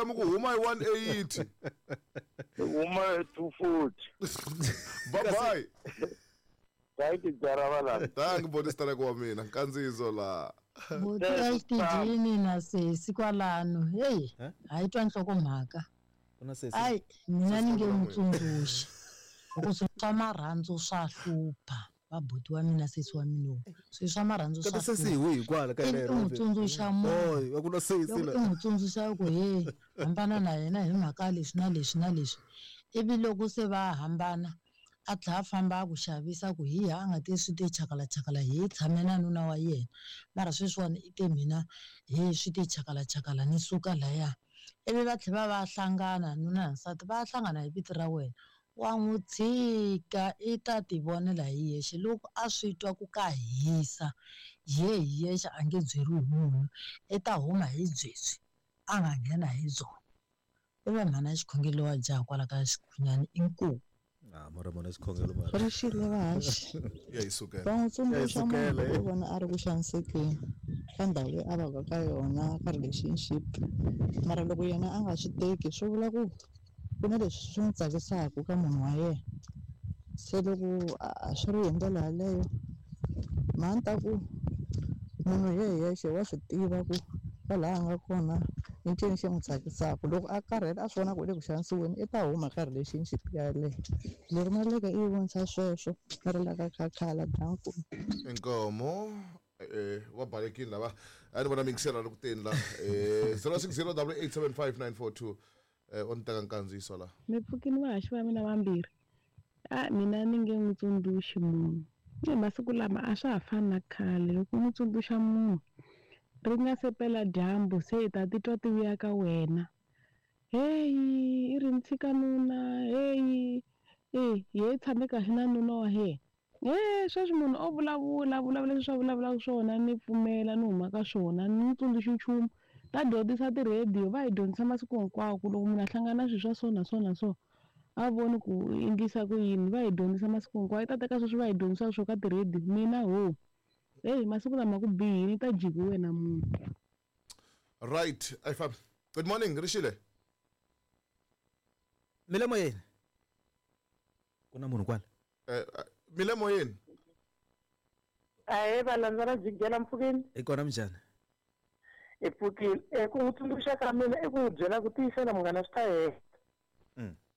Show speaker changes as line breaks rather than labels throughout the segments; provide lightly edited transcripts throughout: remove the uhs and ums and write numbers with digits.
Namuntlha mi ku huma hi 180.
Huma hi 240.
Bye bye.
Thank you Jaravala.
Thank you bodi wa mina. Nkandziyiso la.
Boti exitijini na sesi kwalano. Hey, hayi twa nhlokomhaka.
Kuna sesi.
Ai, mina ni nge n'wi tsundzuxi. Loko swi swa marhandzu swa hlupha. Vabuti wa mina sesi wa mina lowu. Swilo swa marhandzu swa
Kati sesi hi wihi kwala ka
Ivi
lero?
u n'wi tsundzuxa munhu.
Oy, a ku na sesi
Loko
la.
u n'wi tsundzuxa ku he hambana na yena hi mhaka leswi na leswi na leswi. Ivi loko se va hambana a tlhela a famba a ku xavisa ku hi a nga te swi te chakalachakala hi tshame na nuna wa yena. Mara sweswiwani i te mina he swi te chakalachakala ni suka laya. Ivi va tlhela va hlangana nuna na nsati va hlangana hi vito ra wena. Wa n'wi tshika i ta ti vonela hi yexe loko a swi twa ku ka hisa ye hi yexe a nge byeriwi hi munhu i ta huma hi byebyi a nga nghena hi byona. I va mhana xikhongelo wa jaha kwala ka xikhunyani inkomu.
Ah, mara mona xikhongelo mara.
Ri xile vahaxi.
Ya yi sukela.
Va n'wi tsundzuxa
Ya yi sukela,
munhu
eh.
loko u vona a ri ku xanisekeni ka ndhawu leyi a vaka ka yona ka relationship mara loko yena a nga swi teki swi vula ku ku na leswi swi n'wi tsakisaka ka munhu wa yena se loko a swi ri hi ndlela yaleyo mhani ta ku munhu hi yexe wa swi tiva ku kwalaha a nga kona i ncini xi n'wi tsakisaka loko a karhele a swi vona ku u le ku xanisiweni i ta huma ka relationship yaleyo leri maleka i yi vonisa sweswo ri la ka khakhala danku.
Inkomo va balekile lava a ni vona mingisela ri ku teni la 0608875942 o ni teka nkandziyiso la.
Mi pfukini vahaxi va mina vambirhi. A mina ni nge n'wi tsundzuxi munhu. Ni masiku lama a swa ha fani na khale loko u n'wi tsundzuxa munhu ri nga se pela dyambu se i ta titwa ti vuya ka wena. Heyi i ri ni tshika nuna heyi e ye tshame kahle na nuna wa yena. Sweswi munhu o vulavula vulavula leswi a vulavulaka swona ni pfumela ni huma ka swona ni n'wi tsundzuxi nchumu. Ta dyondzisa ti-radio va hi dyondzisa masiku hinkwawo ku loko munhu a hlangana na swilo swa so na so na so a voni ku endlisa ku yini va hi dyondzisa masiku hinkwawo i ta teka sweswi va hi dyondzisaka swo ka ti-radio mina ho heyi masiku lama ku bihile ta jiki wena munhu.
Right, I fam. Good morning, Rishile.
Milemo yini? Ku na munhu kwala.
Milemo yini?
Ahe valandza ra jikela mpfukeni.
I kona minjhani?
I pfukile. Ku n'wi tsundzuxa ka mina i ku n'wi byela ku tiyisela munghana swi ta hela.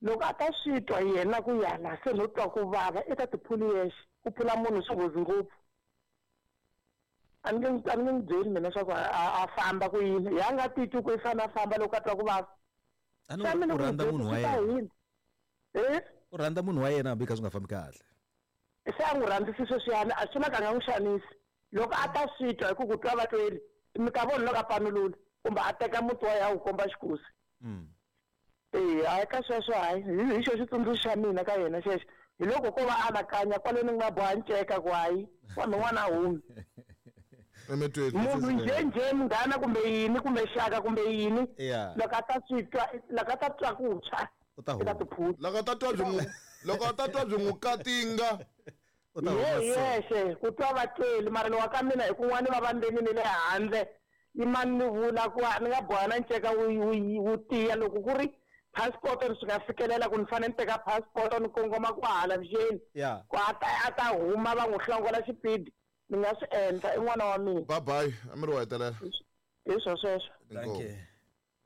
Loko a ta swi twa yena ku yana se no twa ku vava i ta tiphuli yexe ku phula munhu swi nghozi ngopfu. A ni nge n'wi byeli mina swa ku a famba ku yini ya nga titwi ku i fanele a famba loko a twa ku vava.
A ni u rhandza munhu wa yena. U rhandza munhu wa yena hambi kha swi nga fambi kahle.
Se a n'wi rhandzisi sweswiyani a swi na ka nga n'wi xanisi loko a ta swi twa hi ku ku twa va tweli mi ta vona loko a panulula kumbe a teka muti wa ya wu komba xikosi. Hayi ka sweswo hayi hi xo xitsundzuxo xa mina ka yena xexo hi loko ko va anakanya kwale ni nga boha nceka ku hayi wa min'wana a humi munhu njhenjhe munghana kumbe yini kumbe xaka kumbe yini loko a ta swi twa loko a ta twa ku tshwa i ta tiphula
loko a ta twa byi n'wi loko a ta twa byi n'wi katinga
yexe ku twa va tweli mara lowa ka mina hi kun'wana va va ndzeni ni le handle yimani ni vula ku ni nga boha na nceka wu tiya loko ku ri passport ni swi nga fikelela ku ni fanele ni teka passport ni kongoma ku hala vuxeni ku a ta huma va n'wi hlongola xipidi ni nga swi endla i n'wana wa mina.
Bye bye a mi ri wa hetelela
hi swo sweswo.
Thank you.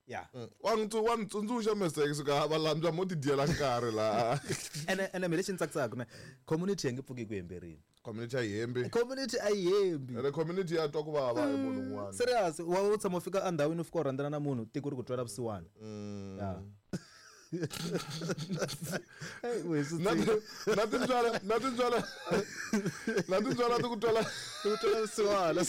Yeah.
Wa n'wi tsundzuxa mistake suka va landzwa mo ti dyela nkarhi laha.
Ene me lexi ni tsakisaka ne community yi nge pfuki ku hemberini.
Community a yi hembi.
Community a yi hembi.
Ene community ya twa ku vava hi munhu un'wana.
Serious, wa u tshama u fika endhawini u fika u rhandzana na munhu tiko ri ku twela vusiwana. Yeah.
Na tintswala ti ku twela
ti ku twela vusiwana.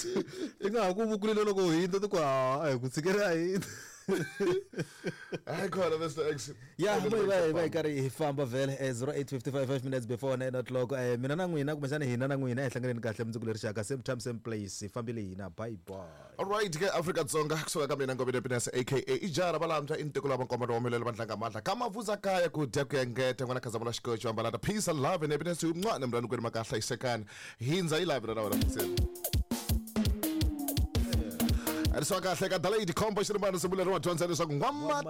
Ti nga ha ku vukulile loko u hindza ti ku a hi ku tshikela a hindza.
I call it Mr. X.
Yeah, we karhi hi famba vhele 08:55 5 minutes before 9 o'clock. Mina na n'wina kumbexana hina na n'wina hi hlanganeni kahle mundzuku leri xaka same time same place hi fambile hina bye bye.
All right ke Afrika Dzonga kusuka ka mina Ngobeni Happiness aka Ijara Balambya intiko lava nkomba wa milelo vandlanga mandla ka mavuza kaya ku dya ku engeta n'wana khazamula xikocho ambalata peace and love and happiness un'wana mrani kwenu makahla hisekani hindza yi lavi ra wena mfuseni. Ri swa kahle ka Dalai Combo xirimbano simbuleriwa dyondza leswaku n'wamati.